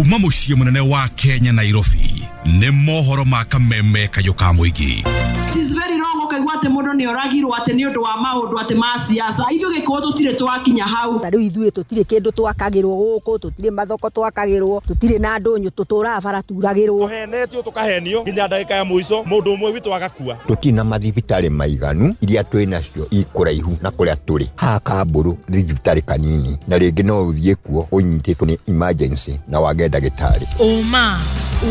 Kuma mũciĩ mũnene wa Kenya, Nairobi, nĩ mohoro ma kameme kayũ ka mũingĩ. It is very wrong ũkaigua atĩ mũndũ nĩ oragirwo atĩ nĩ ũndũ wa maũndũ atĩ ma siasa. Ithuĩ Gĩkũyũ tũtirĩ twakinya hau. Ta rĩu ithuĩ tũtirĩ kĩndũ twakagĩrwo gũkũ, tũtirĩ mathoko twakagĩrwo, tũtirĩ na ndũnyũ, tũtũraga bara turagĩrwo. Tũhenetio tũkahenio nginya ndagĩka ya mũico mũndũ ũmwe witũ agakua. Tũtirĩ na mathibitarĩ maiganu, iria twĩ nacio ikũraihu na kũrĩa tũrĩ. Haha Kambũrũ thibitarĩ kanini, na rĩngĩ no ũthiĩ kuo ũnyitĩtwo nĩ emergency na wage ndagĩtarĩ. Ũma,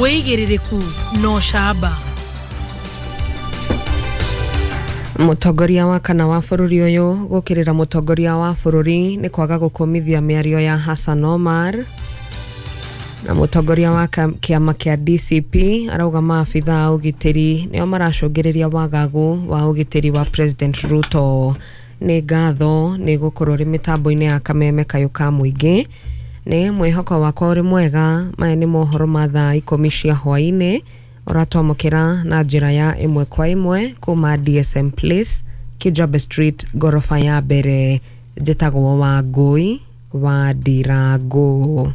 wĩigĩrĩrĩku na ũcamba. Mũtongoria wa kana wa bũrũri ũyũ gũkĩrĩra mũtongoria wa bũrũri nĩ kwaga gũkũmithia mĩario ya Hassan Omar. Na mũtongoria wa kĩama kĩa DCP arauga maabitha a ũgitĩri nĩo maracũngĩrĩria wagagu wa ũgitĩri wa President Ruto. Nĩ ngatho nĩ gũkorwo rĩ mĩtambo-inĩ ya kameme kayũ ka mũingĩ. Nĩ mwĩhoko wakwa ũrĩ mwega. Maya nĩ mohoro ma thaa 10 cia hwaĩ-inĩ ũratwamũkĩra na njĩra ya ĩmwe kwa ĩmwe kuma DSM Place, Kijabe Street, ngoroba ya mbere. Njĩtagwo Wangũi wa Ndirangũ.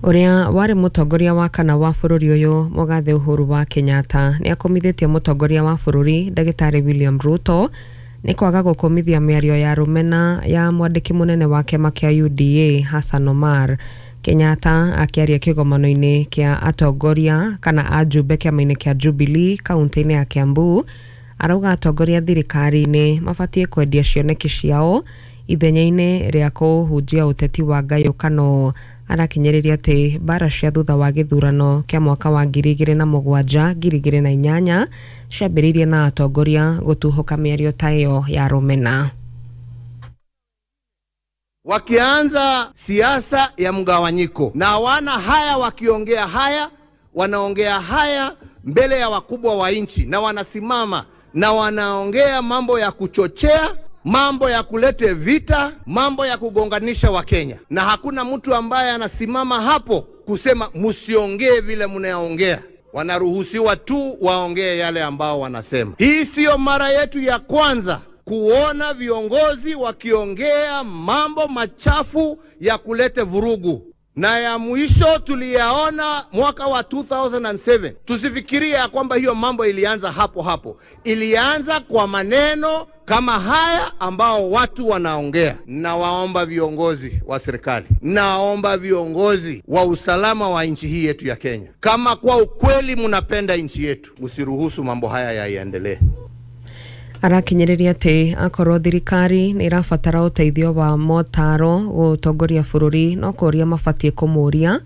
Ũrĩa warĩ mũtongoria wa kana wa bũrũri ũyũ mũgathe Uhuru wa Kenyatta nĩ akũmithĩtie mũtongoria wa bũrũri ndagĩtarĩ William Ruto nĩ kwaga gũkũmithia mĩario ya rũmena ya mwandĩki mũnene wa kĩama kĩa UDA Hassan Omar. Kenyatta akĩaria kĩgomano-inĩ kĩa atongoria kana ajumbe kĩama-inĩ kĩa Jubilee kaunti-inĩ ya Kiambu arauga atongoria thirikari-inĩ mabatiĩ kwendia cioneki ciao ithenya-inĩ rĩa kũhunjia ũteti wa ngayũkano. Arakinyĩrĩria atĩ mbara cia thutha wa gĩthurano kĩa mwaka wa 2007 2008 ciambĩrĩirie na atongoria gũtuhũka mĩario ta ĩyo ya rũmena. Wakianza siasa ya mgawanyiko na wana haya, wakiongea haya, wanaongea haya mbele ya wakubwa wa nchi, na wanasimama na wanaongea mambo ya kuchochea, mambo ya kulete vita, mambo ya kugonganisha Wakenya. Na hakuna mtu ambaye anasimama hapo kusema msiongee vile mnaongea. Wanaruhusiwa tu waongee yale ambao wanasema. Hii sio mara yetu ya kwanza kuona viongozi wakiongea mambo machafu ya kulete vurugu. Na ya mwisho tuliyaona mwaka wa 2007. Tusifikirie ya kwamba hiyo mambo ilianza hapo hapo. Ilianza kwa maneno kama haya ambao watu wanaongea. Na waomba viongozi wa serikali, naomba viongozi wa usalama wa nchi hii yetu ya Kenya, kama kwa ukweli mnapenda nchi yetu, msiruhusu mambo haya yaendelee. Arakinyĩrĩria atĩ akorwo thirikari nĩ ĩrabatara ũteithio wa motaro gũtongoria bũrũri no kũria mabatiĩ kũmũria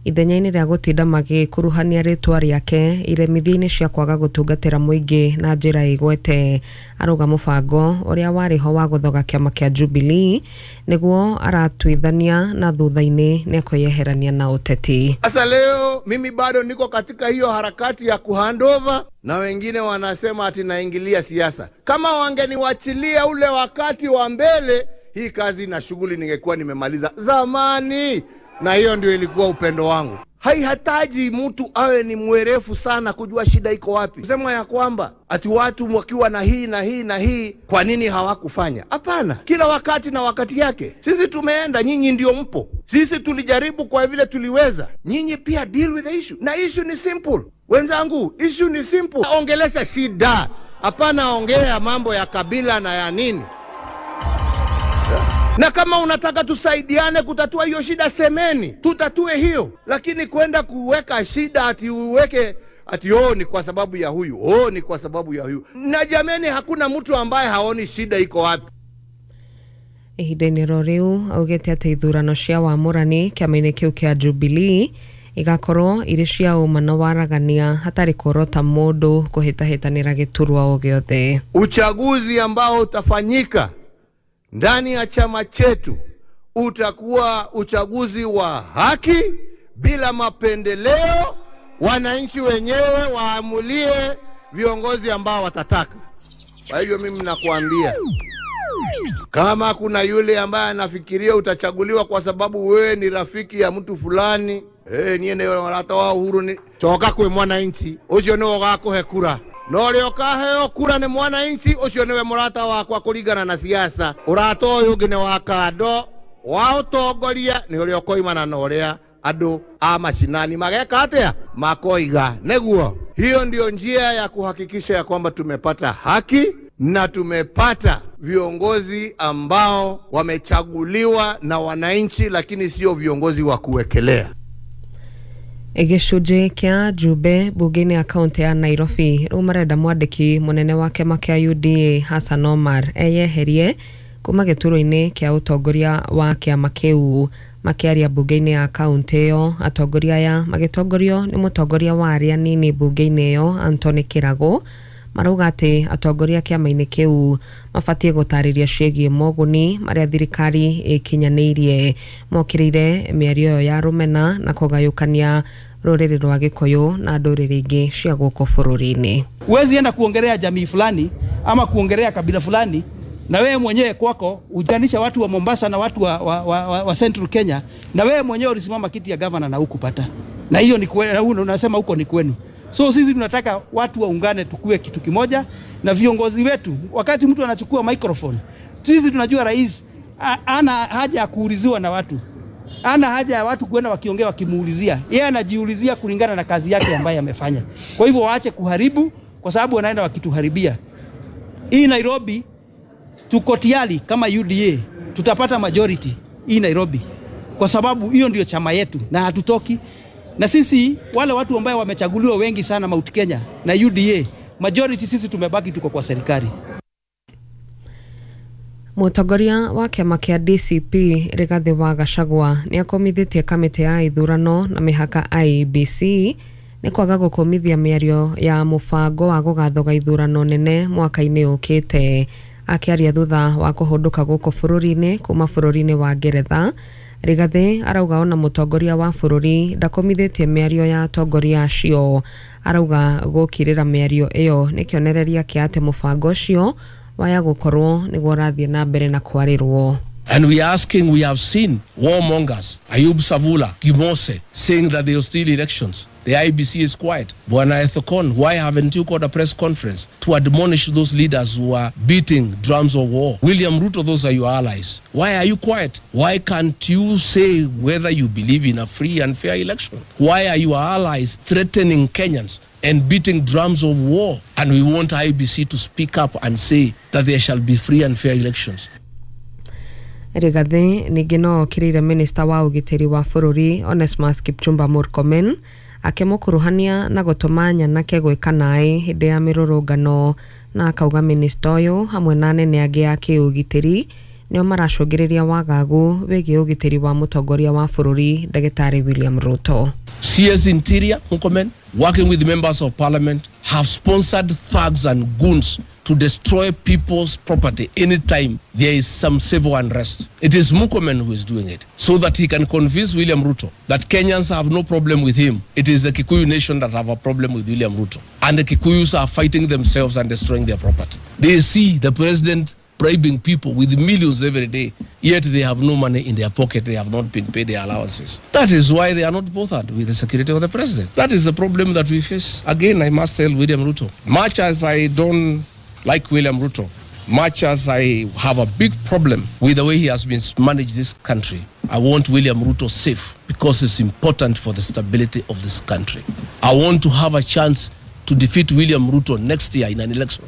ithenya-inĩ rĩa gũtinda magĩkuruhania rĩtwa rĩake iremithia-inĩ cia kwaga gũtungatĩra mũingĩ na njĩra ĩgwete. Arauga mũbango ũrĩa warĩ ho wa gũthoga kĩama kĩa Jubilee nĩguo aratuithania na thutha-inĩ nĩ ekweyeherania na ũteti. Sasa leo mimi bado niko katika hiyo harakati ya kuhandover, na wengine wanasema ati naingilia siasa. Kama wangeniwachilia ule wakati wa mbele, hii kazi na shughuli ningekuwa nimemaliza zamani. Na hiyo ndio ilikuwa upendo wangu. Haihitaji mtu awe ni mwerefu sana kujua shida iko wapi. Kusema ya kwamba ati watu wakiwa na hii na hii na hii, kwa nini hawakufanya? Hapana, kila wakati na wakati yake. Sisi tumeenda, nyinyi ndio mpo. Sisi tulijaribu kwa vile tuliweza. Nyinyi pia deal with the issue. Na issue ni simple. Wenzangu, issue ni simple. Ongelesha shida. Hapana ongea mambo ya kabila na ya nini. Na kama unataka tusaidiane kutatua hiyo shida, semeni, tutatue hiyo. Lakini kwenda kuweka shida ati uweke ati oh ni kwa sababu ya huyu, oh ni kwa sababu ya huyu. Na jameni, hakuna mtu ambaye haoni shida iko wapi. Ihinda-inĩ ro rĩu augĩte atĩ ithurano cia wamũrani kĩama-inĩ kĩu kĩa Jubilee igakorwo irĩ cia ũma na waragania hatarĩ kuorota mũndũ kũhĩtahĩtanĩra gĩturwa o gĩothe. Uchaguzi ambao utafanyika ndani ya chama chetu utakuwa uchaguzi wa haki, bila mapendeleo. Wananchi wenyewe waamulie viongozi ambao watataka. Kwa hivyo mimi nakuambia, kama kuna yule ambaye anafikiria utachaguliwa kwa sababu wewe ni rafiki ya mtu fulani, niye ne warata wa Uhuru ni coka kwi mwananchi ucio niwe ugakuhe kura. No ria ukaheo kura ni mwananchi ucio niwe murata wakwa kuringana na siasa. Urata uyu ungi ni wa kando, Wa utongoria ni uria ukoimana na uria andu a mashinani mageka atia makoiga neguo. Hiyo ndio njia ya kuhakikisha ya kwamba tumepata haki na tumepata viongozi ambao wamechaguliwa na wananchi, lakini sio viongozi wa kuwekelea. Gĩcunjĩ kĩa Njumbe mbunge-inĩ ya kaũntĩ ya Nairobi rĩu marenda mwandĩki mũnene wa kĩama kĩa UDA Hassan Omar eyeherie kuma gĩturwa-inĩ kĩa ũtongoria wa kĩama kĩu. Makĩaria mbunge-inĩ ya kaũntĩ ĩyo, atongoria aya magĩtongorio nĩ mũtongoria wa arĩa anini mbunge-inĩ ĩyo Anthony Kĩrago marauga atĩ atongoria kĩama-inĩ kĩu mabatiĩ gũtarĩria ciĩgiĩ moguni marĩa thirikari ĩkinyanĩirie. Mokĩrĩire mĩario ĩyo ya rũmena na kũgayũkania rũrĩrĩ rwa Gĩkũyũ na ndũrĩrĩ ingĩ cia gũkũ bũrũri-inĩ. Huwezi enda kuongelea jamii fulani ama kuongelea kabila fulani na wewe mwenyewe kwako ujanisha watu wa Mombasa na watu wa Central Kenya, na wewe mwenyewe ulisimama kiti ya governor na hukupata, na hiyo ni kwenu, unasema huko ni kwenu. So sisi tunataka watu waungane, tukue kitu kimoja na viongozi wetu. Wakati mtu anachukua microphone, sisi tunajua rais ana haja ya kuuliziwa na watu, ana haja ya watu kwenda wakiongea wakimuulizia. Yeye anajiulizia kulingana na kazi yake ambayo amefanya. Kwa hivyo waache kuharibu, kwa sababu wanaenda wakituharibia. Hii Nairobi tuko tayari kama UDA tutapata majority hii Nairobi, kwa sababu hiyo ndio chama yetu na hatutoki. Na sisi wale watu ambao wamechaguliwa wengi sana Mount Kenya na UDA majority, sisi tumebaki tuko kwa serikali. Mũtongoria wa kĩama kĩa DCP Rigathĩ wa Gachagua nĩ akomithĩtie kamĩtĩ ya ithurano na mĩhaka IEBC nĩ kwaga gũkũmithia mĩario ya mũbango wa gũgathoga ithurano nene mwaka-inĩ ũkĩte. Akĩaria thutha wa kũhũndũka gũkũ bũrũri-inĩ kuma bũrũri-inĩ wa Ngeretha, Rigathĩ arauga ona mũtongoria wa bũrũri ndakomithĩtie mĩario ya atongoria acio. Arauga gũkirĩra mĩario ĩyo nĩ kĩonereria kĩa atĩ mũbango ũcio waya gũkorwo nĩguo ũrathiĩ na mbere na kwarĩrwo. And we are asking, we have seen warmongers, Ayub Savula, Gimose, saying that they will steal elections. The IBC is quiet. Bwana Ethekon, why haven't you called a press conference to admonish those leaders who are beating drums of war? William Ruto, those are your allies. Why are you quiet? Why can't you say whether you believe in a free and fair election? Why are your allies threatening Kenyans and beating drums of war? And we want IBC to speak up and say that there shall be free and fair elections. Rigathĩ ningĩ no okĩrĩire minista wa ũgitĩri wa bũrũri Onesmus Kipchumba Murkomen akĩmũkuruhania na gũtũma nyanake gwĩka naĩ hĩndĩ ya mĩrũrũngano, na akauga minista ũyũ hamwe na anene angĩ a kĩũgitĩri nĩo maracũngĩrĩria wagagu wĩgiĩ ũgitĩri wa mũtongoria wa bũrũri Ndagĩtarĩ William Ruto. CS Interior Murkomen, working with members of parliament, have sponsored thugs and goons to destroy people's property anytime there is some civil unrest. It is Murkomen who is doing it, so that he can convince William Ruto that Kenyans have no problem with him. It is the Kikuyu nation that have a problem with William Ruto. And the Kikuyus are fighting themselves and destroying their property. They see the president bribing people with millions every day, yet they have no money in their pocket. They have not been paid their allowances. That is why they are not bothered with the security of the president. That is the problem that we face. Again, I must tell William Ruto, much as I don't like William Ruto, much as I have a big problem with the way he has been managed this country, I want William Ruto safe because it's important for the stability of this country. I want to have a chance to defeat William Ruto next year in an election.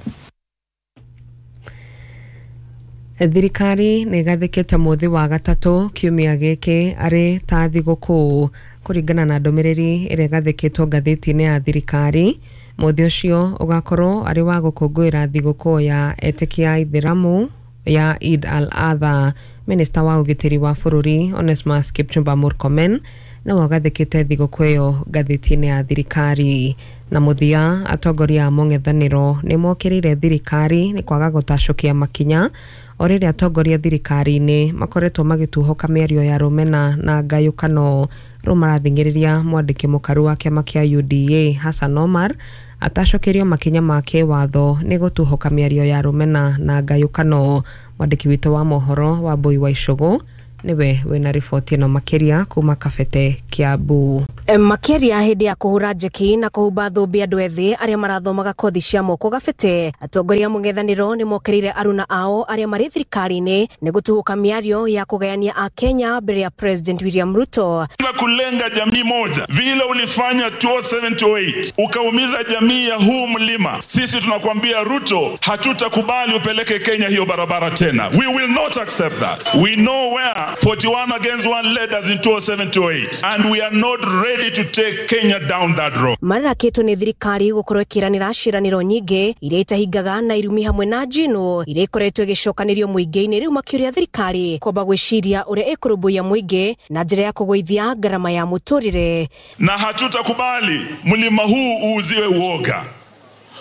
Thirikari nĩ ĩgathĩkĩte mũthĩ wa gatatũ kiumia gĩkĩ arĩ ta thigũkũ kũringana na ndũmĩrĩri ĩrĩa ĩgathĩkĩtwo ngathĩti-inĩ ya thirikari. Mũthĩ ũcio ũgakorwo arĩ wa gũkũngũĩra thigũkũ ya etĩkia a Ithĩramu ya Eid al-Adha. Minista wa ũgitĩri wa bũrũri Onesmus Kipchumba Murkomen nĩwe ũgathĩkĩte thigũkũ ĩyo ngathĩti-inĩ ya thirikari. Na mũthia, atongoria a mũng'ethanĩro nĩ mokĩrĩire thirikari nĩ kwaga gũtacũkia makinya o rĩrĩa atongoria thirikari-inĩ makoretwo magĩtuhũka mĩario ya rũmena na ngayũkano. Rĩu marathing'ĩrĩria mwandĩki mũkaru wa kĩama kĩa UDA Hassan Omar atacũkĩrio makinya ma kĩwatho nĩ gũtuhũka mĩario ya rũmena na ngayũkano. Mwandĩki witũ wa mohoro Wambui wa Icũgũ Nĩwe wĩna riboti ĩno makĩria kuma Kabete, Kiambu. Makĩria hĩndĩ ya kũhũra njeki na kũhumba thũmbĩ andũ ethĩ arĩa marathomaga kothi cia moko Gabete, atongoria mũng'ethanĩro nĩ mokĩrĩire aruna ao arĩa marĩ thirikari-inĩ nĩ gũtuhũka mĩario ya kũgayania Akenya mbere ya President William Ruto. Kulenga jamii moja vile ulifanya 2007-2008 ukaumiza jamii ya huu mlima. Sisi tunakwambia Ruto, hatutakubali upeleke Kenya hiyo barabara tena. We will not accept that. We know where 41 against 1 led us in 2007-2008 and we are not ready to take Kenya down that road. Marakĩtwo nĩ thirikari gũkorwo ĩkĩranĩra ciĩranĩro nyingĩ iria itahingaga na irumi hamwe na njino iria ikoretwo ĩgĩcokanĩrio mũingĩ-inĩ, rĩu makĩũria thirikari kwamba gwĩciria ũrĩa ĩkũrũmbũiya mũingĩ na njĩra ya kũgũithia ngarama ya mũtũrĩre. Na hatutakubali mlima huu uuziwe uoga.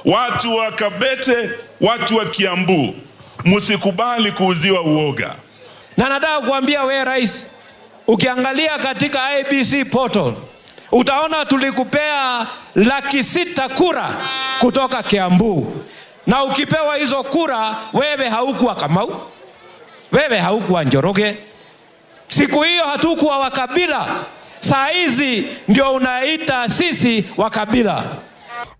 Watu wa Kabete, watu wa Kiambu, msikubali kuuziwa uoga. Na nataka kuambia we rais, ukiangalia katika IBC portal utaona tulikupea 600,000 kura kutoka Kiambu, na ukipewa hizo kura wewe haukuwa Kamau, wewe haukuwa Njoroge. Siku hiyo hatukuwa wakabila, saa hizi ndio unaita sisi wakabila.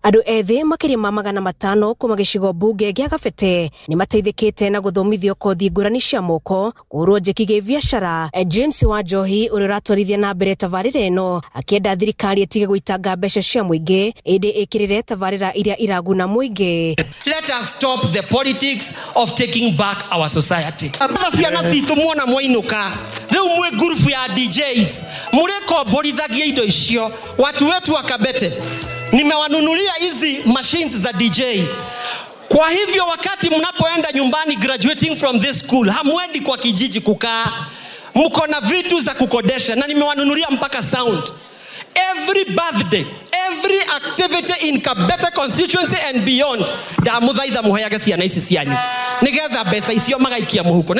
Andũ ethĩ makĩria ma 500 kuma gĩcigo mbunge gĩa Gabete nĩ mateithĩkĩte na gũthomithio kothi ngũrani cia moko, kũhũrwo njeki gĩbiacara. James Wanjohi ũrĩa ũratwarithia na mbere tabarĩra ĩno akĩenda thirikari ĩtige gũitanga mbeca cia mũingĩ ĩndĩ ĩkĩrĩre tabarĩra iria iraguna mũingĩ. Let us stop the politics of taking back our society. Ciana citũ muona mwainũka rĩu mwĩ ngurubu ya DJs mũrĩkomborithagia indo icio. Watu wetu wa Kabete nimewanunulia hizi machines za DJ. Kwa hivyo wakati mnapoenda nyumbani graduating from this school, hamwendi kwa kijiji kukaa, mko na vitu za kukodesha, na nimewanunulia mpaka sound. Every birthday, every activity in Kabete constituency and beyond, ndamuthaitha muheage ciana ici cianyu nigetha mbeca icio magaikia muhuko.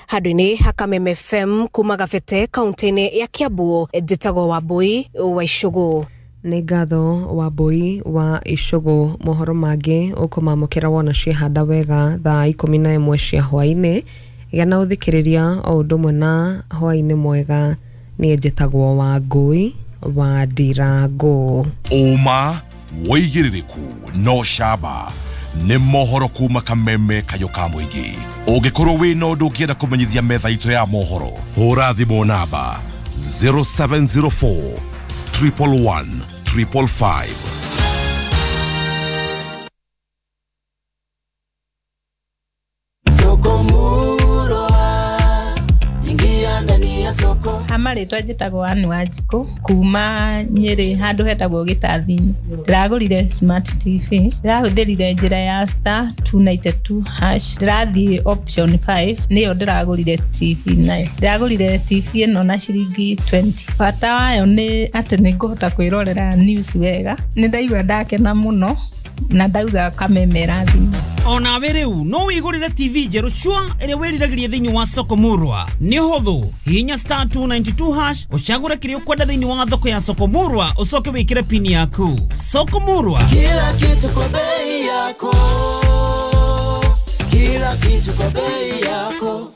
Handũ-inĩ ha Kameme FM kuma Gabete kaunti-inĩ ya Kiambu, njĩtagwo Wambui wa Icũgũ. Nĩ ngatho Wambui wa Icũgũ. Mohoro mangĩ ũkũmamũkĩra wona ciehanda wega thaa 11 cia hwaĩ-inĩ. Gĩa na ũthikĩrĩria o ũndũ ũmwe na hwaĩ-inĩ mwega. Niĩ njĩtagwo Wangui wa Ndirango. Ũma wĩigĩrĩrĩku no camba nĩ mohoro kuma Kameme kayũ ka mũingĩ. Ũngĩkorwo wĩna ũndũ ũngĩenda kũmenyithia metha itũ ya mohoro, hũra thimũ namba 0704 111 555. Soko murwa, ingia ndani ya soko. Marĩtwa njĩtagwo Ann Wanjikũ kuma Nyĩrĩ handũ hetagwo Gĩtathi-inĩ. Ndĩragũrire smart TV, ndĩrahũthĩrire njĩra ya star 292 hash, ndĩrathiĩ option 5 nĩyo ndĩragũrire TV nayo. Ndĩragũrire TV ĩno na ciringi 20. Bata wayo nĩ atĩ nĩ ngũhota kwĩrorera news wega. Nĩ ndaigua ndakena mũno na ndauga Kameme ĩrathimwo. Onawe rĩu no wĩgũrĩre TV njerũ cua ĩrĩa wĩriragĩria thĩinĩ wa soko murwa. Nĩ ũhũthũ, hihinya star 292 hash ũcagũre kĩrĩa ũkwenda thĩinĩ wa thoko ya soko murwa, ũcoke wĩkĩre pini yaku. Soko murwa, kila kitu kwa bei yako, kila kitu kwa bei yako.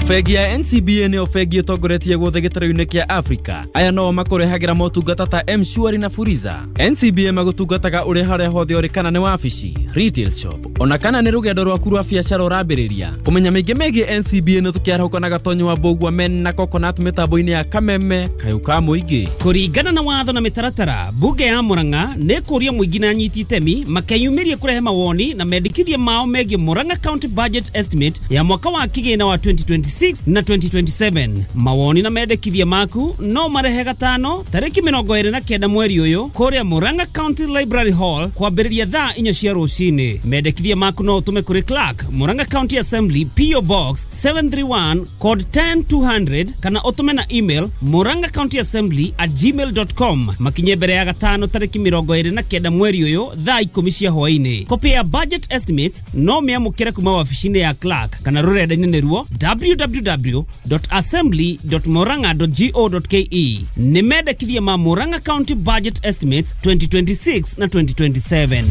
Bengi ya NCBA nĩyo bengi ĩtongoretie guothe gĩtarũ-inĩ kĩa Africa. Aya no makũrehagĩra motungata ta M-Shwari na Fuliza. NCBA magũtungataga ũrĩ harĩa hothe ũrĩ, kana nĩ wabici, retail shop, ona kana nĩ rũgendo rwaku rwa biacara ũrambĩrĩria. Kũmenya maingĩ megiĩ NCBA nĩ tũkĩarahũka na Gatonyo wa Mbũgua men na Coconut mĩtambo-inĩ ya Kameme kayũ ka mũingĩ. Kũringana na watho na mĩtaratara, bunge ya Murang'a nĩ kũria mũingĩ na anyiti itemi makeyumĩrie kũrehe mawoni na mendekithia mao megiĩ Murang'a County Budget Estimate ya mwaka wa kĩgĩna wa 2026 na 2027. Mawoni na mendekithia maku no marehe gatano tarĩki 29 mweri ũyũ kũrĩa Murang'a County Library Hall kwambĩrĩria thaa 4 cia rũcinĩ. Mendekithia maku no ũtũme kũrĩ Clerk, Murang'a County Assembly, PO Box 731 code 10200 kana ũtũme na email murang'acountyassembly@gmail.com. Makinye mbere ya gatano tarĩki 29 mweri ũyũ thaa 10 cia hwaĩ-inĩ. Kopĩ ya budget estimates no mĩamũkĩre kuma wabici-inĩ ya Clerk kana rũrenda-inĩ nĩruo www.assembly.murang'a.go.ke. Nĩ mendekithia ma Murang'a County Budget Estimates 2026 na 2027.